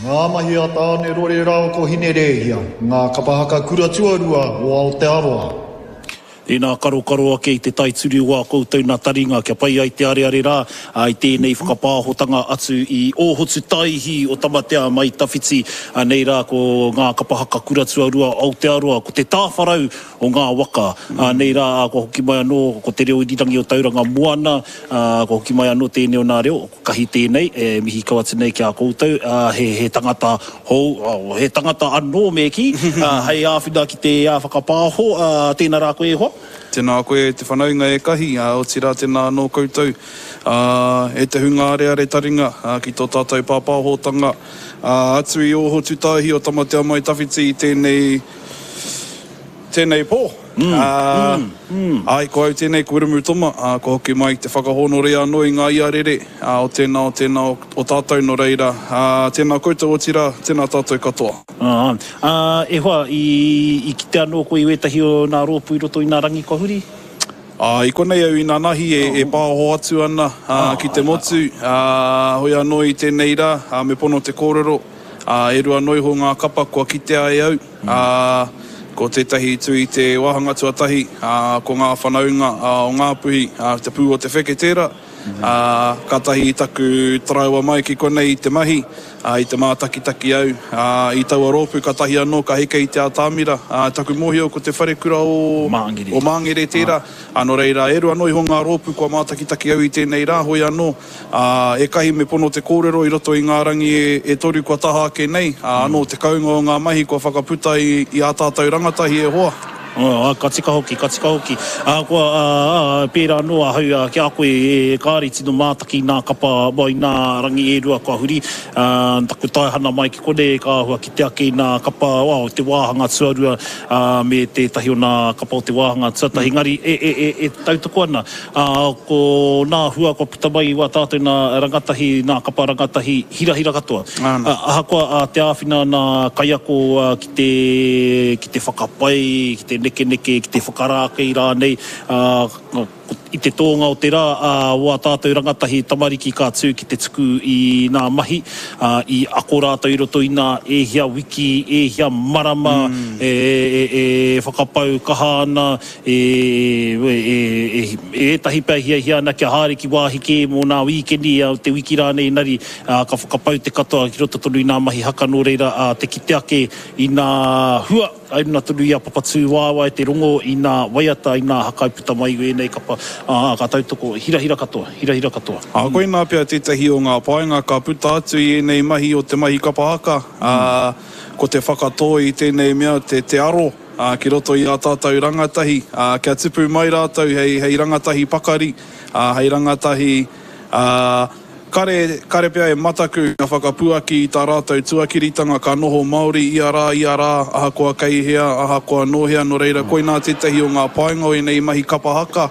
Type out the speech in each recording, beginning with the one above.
Ngā mahi a Tāne Rore rāua ko Hine Rēhia, ngā kapa haka kura tuarua o Aotearoa. Tēnā karokaro ake i te tai turi o ā koutou nā taringa kia pai ai te areare rā i tēnei whakapāhotanga atu i Ōhotu Taihi o Tamatea mai Tawhiti. Nei rā ko ngā kapa haka kura tuarua o Aotearoa, ko te tāwharau o ngā waka. Nei rā kua hoki mai anō ko te reo irirangi o Tauranga Moana, kua hoki mai anō tēnei o nā reo, ko Kahi tēnei, e mihi kau atu nei ki a koutou, he, he tangata hou, he tangata anō me kī, hei āwhina ki te whakapāho, tēnā rā koe e hoa. Tēnā koe e te whanaunga e Kahi, otirā tēnā anō koutou e te hunga areare taringa ki tō tātou pāpāhotanga atu i Ōhotutāihi o Tamatea-mai-tawhiti i tēnei Tēnei pō. Ā, āe, ko au tēnei, ko Wiremu Toma, ā, kua hoki mai te whakahōnore anō i ngā iarere, ā, o tēnā, o tēnā o, o tātou, nō reira, ā, tēnā koutou, otirā, tēnā tātou katoa. Ā, ā, e hoa, i, i kite anō koe i wētahi o nā rōpū i roto i nā rangi kua huri? Ā, i konei au inanahi e, e pāoho atu ana, ā, ki te motu, ā, hoi anō i tēnei rā, ā, me pono te kōrero, ā, e rua noa iho ngā kapa kua kitea e au. Ā, ko tētahi tū i te wāhanga tuatahi, ā, ko ngā whanaunga o Ngāpuhi, ā, te pū o te wheke tērā. Ā, kātahi taku taraiwa mai ki konei i te mahi, ā, i te mātakitaki au, ā, i taua rōpū kātahi anō ka heke i te atamira. Ā, taku mōhio ko te wharekura o, o Māngere tērā. Ā, nō reira, e rua noa iho ngā rōpū kua mātakitaki au i tēnei rā, hoi anō, Ā, ekahi me pono te kōrero i roto i ngā rangi e toru kua taha ake nei, ā, anō te kounga o ngā mahi kua whakaputa i, i ā tātou rangatahi e hoa. Ā, ka tika hoki, ka tika hoki. Ā, kua, ā, ā, pērā anō ahau, ā, ki a koe, e, kāre i tino mātaki i nā kapa, well, i nā rangi e rua kua huri, ā, taku taehana mai ki konei, ka āhua kite ake i nā kapa, well, te wāhanga tuarua, ā, me tētahi o nā kapa o te wāhanga tuatahi, engari, e, e, e, e tautoko ana. Ā, ko nā hua kua puta mai i wā tātou nā rangatahi, nā kapa rangatahi hirahira katoa. Ā, ahakoa ā te āwhina nā kaiako ki te, ki te whakapai, ki te nekeneke, ki te whakarākei rānei, ā, i te tōnga o te rā, ā, wā tātou rangatahi tamariki ka tū ki te tuku i nā mahi, ā, i ako rātou i roto i nā e hia wiki, e hia marama, e, e, e whakapau kaha ana, E, e, e, ētahi pea hiahia ana kia haere ki wāhi kē mō nā wīkeni, te wiki rānei engari, ā, ka whakapau te katoa ki roto tonu i nā mahi haka nō reira, ā, te kite ake i nā hua, ai runa tonu i a Papatūwaewae te rongo i nā waiata, i nā haka i puta mai i ēnei kapa, ā, ka tautoko, hirahira katoa, hirahira katoa. Ā, koinā pea tētahi o ngā painga ka puta atu i ēnei mahi o te mahi kapa haka, ā, ko te whakatō i tēnei mea te, te aro, ā, ki roto i ā tātou rangatahi, ā, kia tupu mai rātou hei, hei rangatahi pakari, ā, hei rangatahi, ā, kare, kare pea e mataku kia whakapuaki i tā rātou tuakiritanga ka noho Māori ia rā, ia rā, ahakoa kei hea, ahakoa nō hea, nō reira, koinā tētahi o ngā painga o ēnei mahi kapa haka,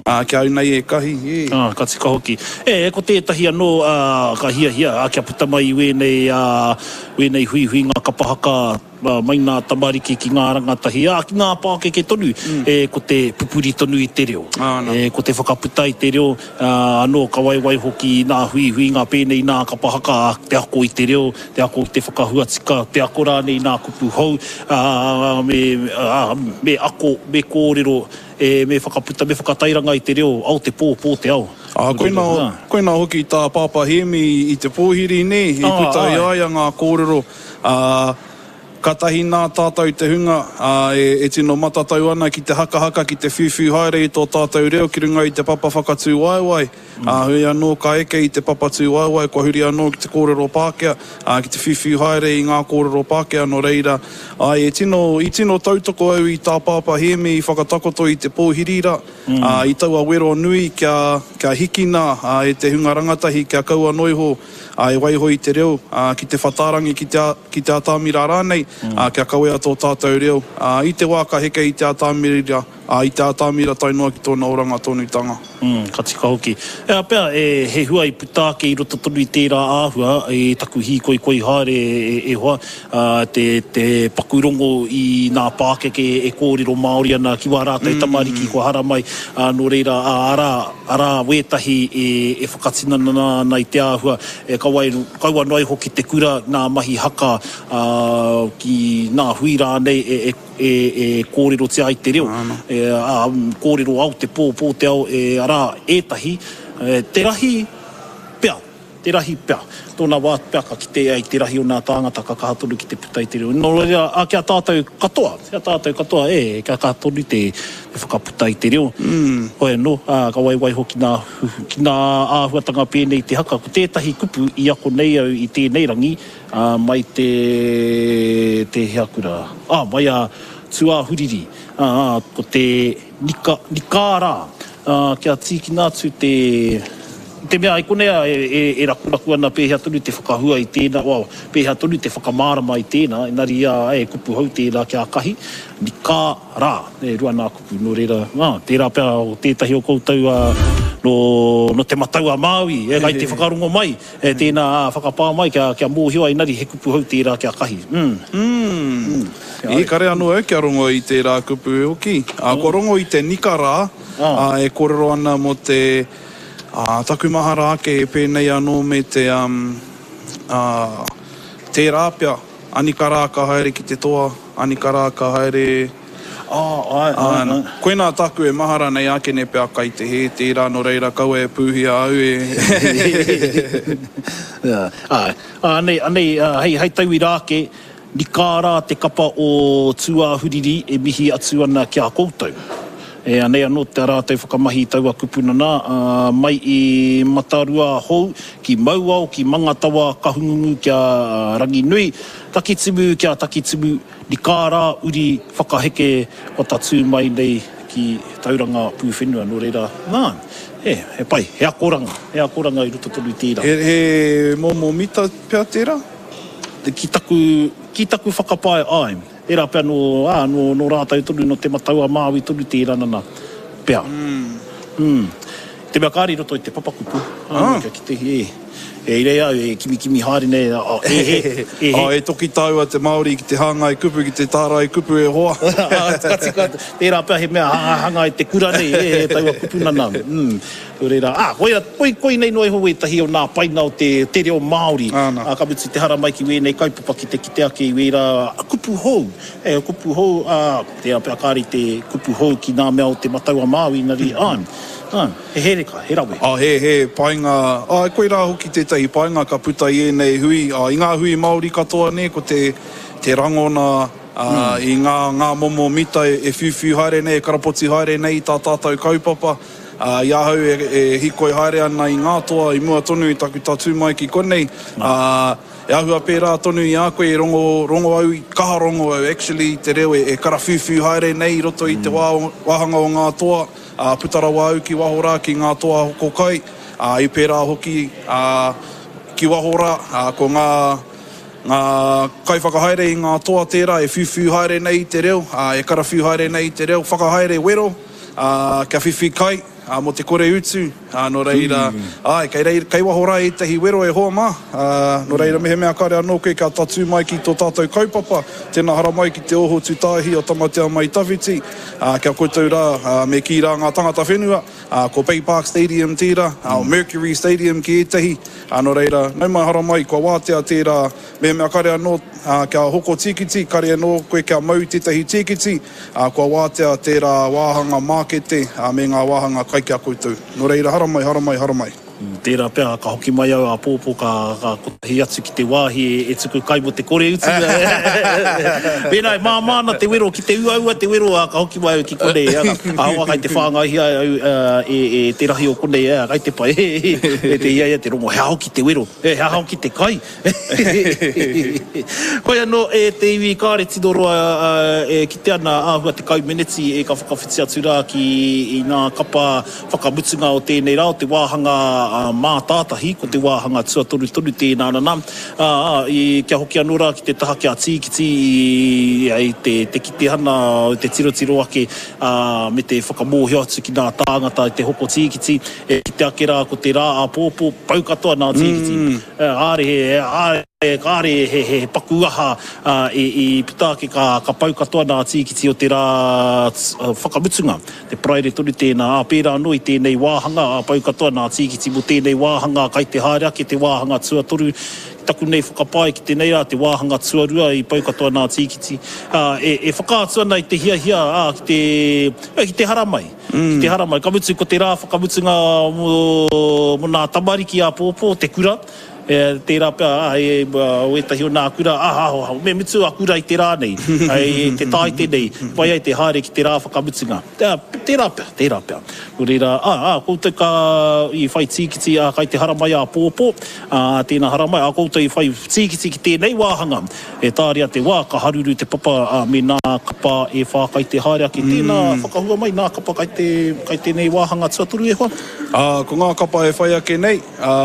ā, ki a au nei e Kahi, ē. Ā, ka tika hoki. E, ko tētahi anō, ā, ka hiahia, ā, kia puta mai i wēnei, ā, wēnei huihuinga kapa haka, Mai ngā tamariki ki ngā rangatahi, ā, ki ngā pākeke tonu, e, ko te pupuri tonu i te reo. E, ko te whakaputa i te reo, ā, anō ka waiwai hoki i nā huihuinga pēnei i nā kapa haka, ā, te ako i te reo, te ako i te whakahua tika, te ako rānei i nā kupu hou, ā, me, ā, me ako, me kōrero, e, me whakaputa, me whakatairanga i te reo, ao te pō, pō te ao. Ā, koinā, koinā hoki tā Pāpā Hēmi i te pōhiri, nē, i puta i a ia ngā kōrero, Ā, kātahi nā tātou te hunga, ā, e, e tino matatau ana ki te hakahaka, ki te whiuwhiu haere i tō tātou reo ki runga i te papa whakatū waewae. Ā, hoi anō ka eke i te papa tū waewae, kua huri anō ki te kōrero Pākehā, ā, ki te whiuwhiu haere i ngā kōrero Pākehā, nō reira, āe, e tino, i tino tautoko au i tā Pāpā Hēmi i whakatakoto i te pōhiri rā, ā, i taua wero nui kia, kia hikina, ā, e te hunga rangatahi kia kaua noa iho, ā, e waiho i te reo, ā, ki te whatārangi, ki te, ki te atamira rānei, ā, kia kawea tō tātou reo, ā, i te wā ka heke i te atamira, ā, i te atamira tae noa ki tōna oranga tonutanga. Mm, ka tika hoki. Ea pea, e, he hua i puta ake i roto tonu i tērā āhua, i taku hīkoikoi haere e, e hoa, ā, te, te paku rongo i nā pākeke e kōrero Māori ana ki wā rātou tamariki kua haramai, ā, nō reira, ā, arā, arā wētahi e, e whakatinana ana i te āhua, e kaua, kaua noa iho ki te kura, nā mahi haka, ā, ki nā hui rānei e, e, e, e kōrerotia ai te reo, e, ā, kōrero ao te pō, pō te ao, e, arā, ētahi, e, te rahi pea, te rahi pea. Tōna wā pea ka kite ai te rahi o nā tāngata ka kaha tonu ki te puta i te reo. Nō reira, ā, ki a tātou katoa, ki a tātou katoa, e, kia kaha tonu te, te whakaputa i te reo. Hoi anō, ā, ka waiwai hoki nā, ki nā āhuatanga pēnei i te haka. Ko tētahi kupu i ako nei au i tēnei rangi, Ā, mai te, tēhea kura? Ā, mai a Tūāhuriri, ā, ko te nika, nikārā, ā, kia tīkina atu te, i te mea i konei a, e, e, e rakuraku ana pēhea tonu te whakahua i tēnā, well, pēhea tonu te whakamārama i tēnā, engari, ā, e kupu hou tērā ki a Kahi, nikārā, e rua nā kupu, nō reira, ā, tērā pea o tētahi o koutou, ā, nō, nō Te Matau-a-Māui, e, kai te whakarongo mai, E tēnā, ā, whakapā mai kia, kia mōhio ai engari he kupu hou tērā kia kahi. Mm. Mm. I kare anō au kia rongo i tērā kupu hoki. Ā, kua rongo i te nika rā, ā, e kōrero ana mō te, ā, taku mahara ake e pēnei anō me te, um, ā, tērā pea, anika rā ka haere ki te toa, anika rā ka haere. Ā, āe, āe, āe. Koinā tāku e mahara nei ākene pea kai te hē tērā nō reira kaua e pūhia au e. Āe, anei, anei, hei, hei tauira ake, nikā rā te kapa o Tūāhuriri e mihi atu ana ki a koutou. E, anei anō tā rātou whakamahi i taua kupu nana, ā, mai i Matarua Hou, ki Mauao, ki Mangatawa, Kahungungu kia Ranginui, Takitimu kia Takitimu, Nikā rā uri whakaheke kua tatū mai nei ki Tauranga Pūwhenua, nō reira, nā, he, he pai, he akoranga, he akoranga i roto tonu i tērā. He, he momo mita pea tērā? Ki taku, ki taku whakapae, āe. Tērā pea nō, ā, nō, nō rātou tonu, nō Te Matau-a-Māui tonu tērā nana, pea. Mm. Te mea kāre i roto i te papakupu, ā, kia kite, e. E i reira au e kimikimi haere nei, a, e he, e he. A, e toki tāua te Māori ki te hāngai kupu, ki te tārai kupu e hoa. Ka tika, tērā pea he mea hangahanga i te kura nei, e, e taua kupu nana. Mm. Nō reira, ā, koia, koi, koinei noa iho wētahi o nā paina o te, te reo Māori. Āna. Ā, ka mutu te haramai ki wēnei kaupapa ki te kite ake i wērā kupu hou. E, kupu hou, ā, tērā pea kāre i te kupu hou ki nā mea o Te Matau-a-Māui, engari, āe. Ā, he hereka, he rawe. Ā, he, he painga, āe, koirā hoki tētahi painga ka puta i ēnei hui, ā, i ngā hui Māori katoa nē, ko te, te rangona, ā, i ngā, ngā momo mita e, e whiuwhiu haere nei, e karapoti haere nei i tā tātou kaupapa. Ā, i ahau e, e hīkoi haere ana i ngā toa i mua tonu i taku tatū mai ki konei, ā, e āhua pērā tonu i a koe e rongo, rongo au, kaha rongo au actually i te reo e, e karawhiuwhiu haere nei i roto i te wā, wāhanga o ngā toa. Ā, puta rawa au ki waho rā ki ngā toa hoko kai, ā, i pērā hoki, ā, ki waho rā, ā, ko ngā, ngā kaiwhakahaere i ngā toa tērā e whiuwhiu haere nei i te reo, ā, e karawhiu haere nei i te reo, whakahaere wero, ā, kia whiwhi kai, ā, mō te kore utu, ā, nō reira, āe, kei reira, kei waho rā ētahi wero e hoa mā, ā, nō reira mehemea kāre anō koe kia tatū mai ki tō tātou kaupapa, tēnā haramai ki te oho tūtāhi o Tamatea Mai Tawhiti, Ā, ki a koutou rā, ā, me kī rā ngā tangata whenua, ā, ko Bay Park Stadium tērā, ā, Mercury Stadium ki ētahi, ā, nō reira, nau mai haramai, kua wātea tērā, mehemea kare anō, ā, kia hoko tīkiti, kare anō koe kia mau tētahi tīkiti, ā, kua wātea tērā wāhanga mākete, ā, me ngā wāhanga kai ki a koutou. Nō reira, haramai, haramai, haramai. Tērā pea ka hoki mai au āpōpō ka kotahi atu ki te wāhi e tuku kai mō te kore utu. Mēnā e māmā ana te wero ki te uaua te wero ka hoki mai au ki konei. Ahakoa kai te whāngaihia au e te rahi o konei, kai te pai e te hiahia te rongo he aha hoki te wero, he aha hoki te kai. Hoi anō e te iwi kāre tino roa e kite ana āhua 10 meneti e ka whakawhiti atu rā ki i ngā kapa whakamutunga o tēnei rā o te wāhanga a Mātātahi, ko te wāhanga tuatoru tonu tēnā nana, ā, i, kia hoki anō rā ki te taha ki a Tīkiti i, i te, te kitehana, te tirotiro ake, ā, me te whakamōhio atu ki nā tāngata i te hoko tīkiti, e kite ake rā ko te rā āpōpō, pau katoa nā tīkiti. Kāre he, kāre he, he paku aha i, i puta ake ka, ka pau katoa nā tīkiti o te rā whakamutunga. Te Paraire tonu tēnā, ā, pērā anō i tēnei wāhanga, ā, pau katoa nā tīkiti mō tēnei wāhanga, kai te haere ake te wāhanga tuatoru, ki taku nei whakapae ki tēnei rā, te wāhanga tuarua i pau katoa nā tīkiti, ā, e, e whakaatu ana i te hiahia, ā, ki te, ki te haramai, ki te haramai. Ka mutu, ko te rā whakamutunga mō, mō nā tamariki āpōpō, te kura, E, tērā pea, ā, e, o ētahi o nā kura, ā, ā, me mutu a kura i te rā nei, i te Tāite nei, pai ai te haere ki te rā whakamutunga. Tērā pea, tērā pea. Nō reira, ā, ā, koutou ka, i whai tīkiti, ā, kai te haramai āpōpō, ā, tēnā haramai, ā, koutou i whai tīkiti ki tēnei wāhanga, e tāria te wā, ka haruru te papa, ā, me nā kapa e whā kai te haere ake. Tēnā, whakahua mai nā kapa kai te, kai tēnei wāhanga tuatoru e hoa. Ā, ko ngā kapa e whai ake nei, Ā,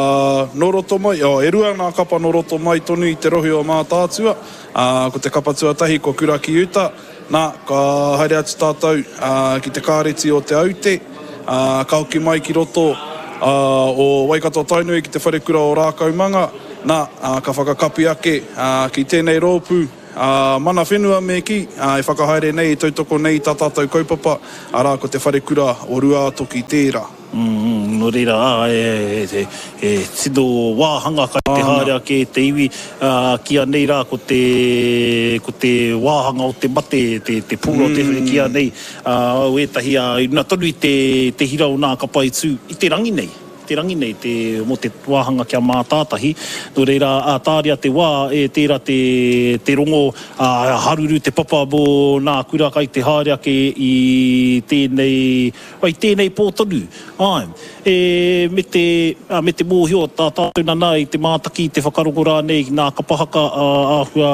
nō roto mai, oh, e rua ngā kapa nō roto mai tonu i te rohe o Mātaatua, ā, ko te kapa tuatahi ko Kura ki Uta, nā, ka haere atu tātou, ā, ki te kāreti o Te Aute, ā, ka hoki mai ki roto, ā, o Waikato-Tainui ki te wharekura o Rākaumanga, nā, ā, ka whakakapi ake, ā, ki tēnei rōpū, ā, mana whenua me kī, ā, e whakahaere nei, e tautoko nei i tā tātou kaupapa, arā, ko te wharekura o Ruātoki tērā. Nō reira, ā, he tino wāhanga kai te haere ake te iwi, ā, kīia nei rā ko te, ko te wāhanga o te mate, te, te pū o te, kīia nei, ā, o ētahi, ā, i runga tonu i te, te hira o nā kapa i tū i te rangi nei, te rangi nei, te, mō te wāhanga kia mātātahi. Nō reira, ā, tāria te wā, e tērā te, te rongo, ā, haruru te papa mō nā kura kai te haere ake i tēnei, I tēnei pō tonu, āe. E, me te, ā, me te mōhio, tā tātou nana i te mātaki, i te whakarongo rānei ki nā kapa haka ā, āhua,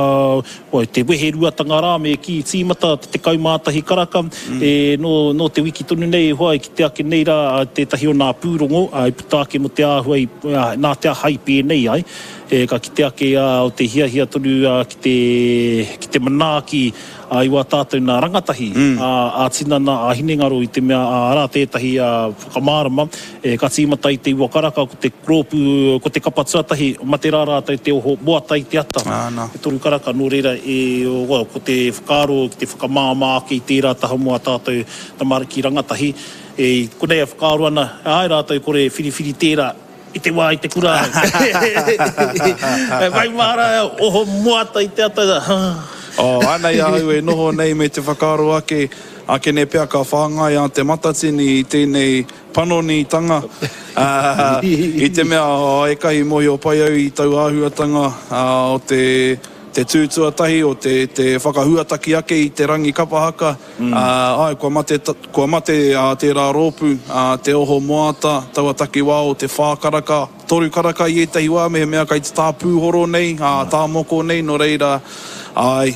oi, te weheruatanga rā me kī, tīmata te 11 karaka, e, nō, nō te wiki tonu nei e hoa i kite ake nei rā tētahi o nā pūrongo, ā, i puta ake mō te āhua i, ā, nā te aha i pēnei ai, e, ka kite ake, ā, o te hiahia tonu, ā, ki te, ki te manaaki, Ā, i wā tātou nā rangatahi, ā, ā-tinana, ā-hinengaro i te mea, ā, arā tētahi, ā, whakamārama, e, ka tīmata i te iwa karaka, ko te rōpū, ko te kapa tuatahi, mate rā rātou te oho moata i te ata, te toru karaka, nō reira, e, well, ko te whakaaro ki te whakamāmā ake i tērā taha mō ā tātou tamariki rangatahi, e, i konei e whakaaro ana, āe rātou kore e whiriwhiri tērā, I te wā i te kura au. Whai māra oho moata i te ata. Oh, anei ahau e noho nei me te whakaaro ake, akene pea ka whāngai a Te Matatini i tēnei panonitanga, i te mea ekahi mōhio pai au i tau āhuatanga o te te tū tuatahi, o te te whakahuataki ake i te rangi kapa haka, āe, kua mate, kua mate tērā rōpū, te oho moata, taua takiwā o te whā karaka, toru karaka i ētahi wā, mehemea kai te tā pūhoro nei, tā moko nei, nō reira, āe,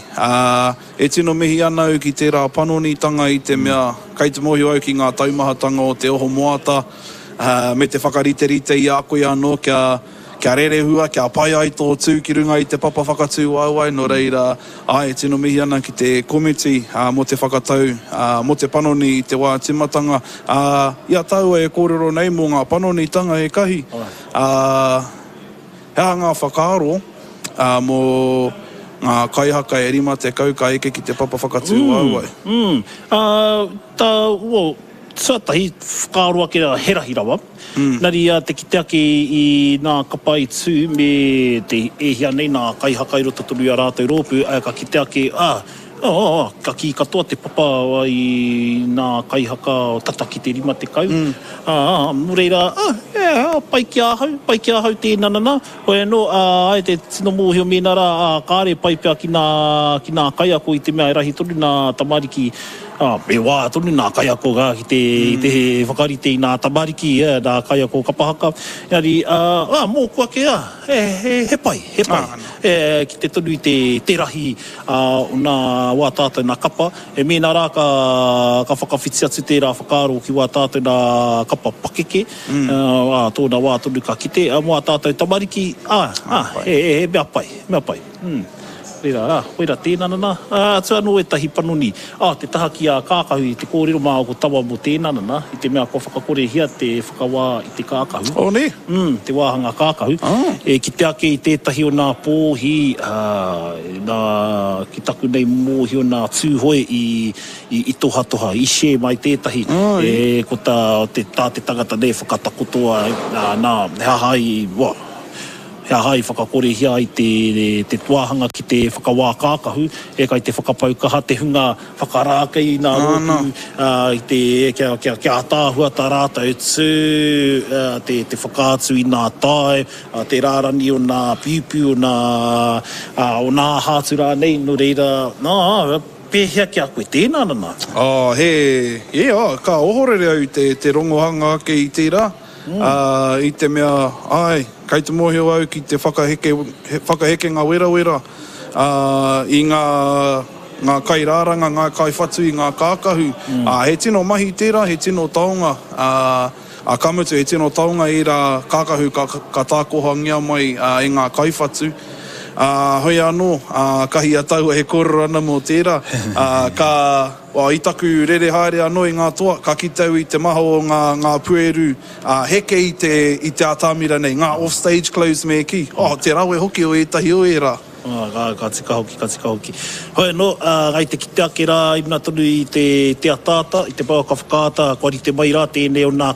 e tino mihi ana au ki tērā panonitanga i te mea, kai te mōhio au ki ngā taumahatanga o te oho moata, me te whakariterite i a koe anō kia, Kia rerehua, kia pai ai tō tū ki runga i te papa whakatū waewae, nō reira, āe, e tino mihi ana ki te komiti mō te whakatau, mō te panoni i te wā tīmatanga. Ā, i a tāua e kōrero nei mō ngā panonitanga e kahi, ā, he aha ngā whakaaro mō ngā kaihaka e 50 ka eke ki te papa whakatū waewae? Mm, mm. Ā, tā, well, tuatahi, whakaaro ake rā, he rahi rawa. Nari ia te kite ake i nā kapa i tū me te e hia nei nā kaihaka i roto tonu i a rātou rōpū, ka kite ake, ā, ā, ka kī katoa te papa i nā kaihaka tata ki te 50, ā, nō reira, ā, ā, pai ki ahau, pai ki ahau tēnā nana, hoi anō, ā, āe te tino mōhio mēnā rā, ā, kāre pai pea ki nā, ki nā kaiako i te mea e rahi tonu nā tamariki. Ā, me wā tonu nā kaiako rā ki te, te whakarite i nā tamariki, ā, nā kaiako kapa haka. Engari, ā, ā, mōku ake, ā, he, he, he pai, he pai. E, kite tonu i te, te rahi, ā, o nā wā tātou nā kapa, e mēnā rā ka, ka whakawhiti atu tērā whakaaro ki wā tātou nā kapa pakeke, ā, ā, tōna wā tonu ka kite, ā, mō ā tātou tamariki, ā, ā, he, he mea pai, he mea pai. Mm. Reira, ā, koira tēnā nana, ā, atu anō ētahi panoni, ā, te taha ki a Kākahu i te kōrero mā ko Tawa mō tēnā nana, i te mea kua whakakorehia te whakawā i te kākahu. Oh, nē? Mm, te wāhanga kākahu. Oh. E kite ake i tētahi o nā pōhi, ā, nā, ki taku nei mōhio nā Tūhoe i, i, i tohatoha, i share mai tētahi, Oh, e, ko tā te, tā te tangata nei whakatakoto ai, ā, nā, he aha i, well, He aha i whakakorehia ai te te wāhanga ki te whakawā kākahu, e kai te whakapau kaha te hunga whakarākei i nā rōpū i te kia kia kia ataahua tā rātou tū, te te whakaatu i nā tae, te rārani o nā piupiu, o nā o nā aha atu rānei, nō reira, nā, pēhea ki a koe tēnā nana? Oh, he, yeah, oh, ka ohorere au i te te rongohanga ake i tērā. Ā, i te mea, āe, kei te mōhio au ki te whakaheke, whakahekenga werawera, ā, i ngā, ngā kairāranga, ngā kaiwhatu i ngā kākahu. Ā, he tino mahi tērā, he tino taonga, ā, ā, ka mutu he tino taonga ērā kākahu ka, ka tākohangia mai, ā, e ngā kaiwhatu. Ā, hoi anō, ā, ka hia taua e kōrero ana mō tērā, ā, ka. Well, i taku rere haere anō i ngā toa, ka kite au i te maha o ngā, ngā pueru, ā, heke i te, i te atamira nei, ngā off-stage clothes me kī. Oh, te rawe hoki o ētahi o ērā. Ā, ka, ka tika hoki, ka tika hoki. Hoi anō, ā, kai te kite ake rā i runga tonu i te, te ataata, i te pouaka whakaata, kua rite mai rā tēnei o nā.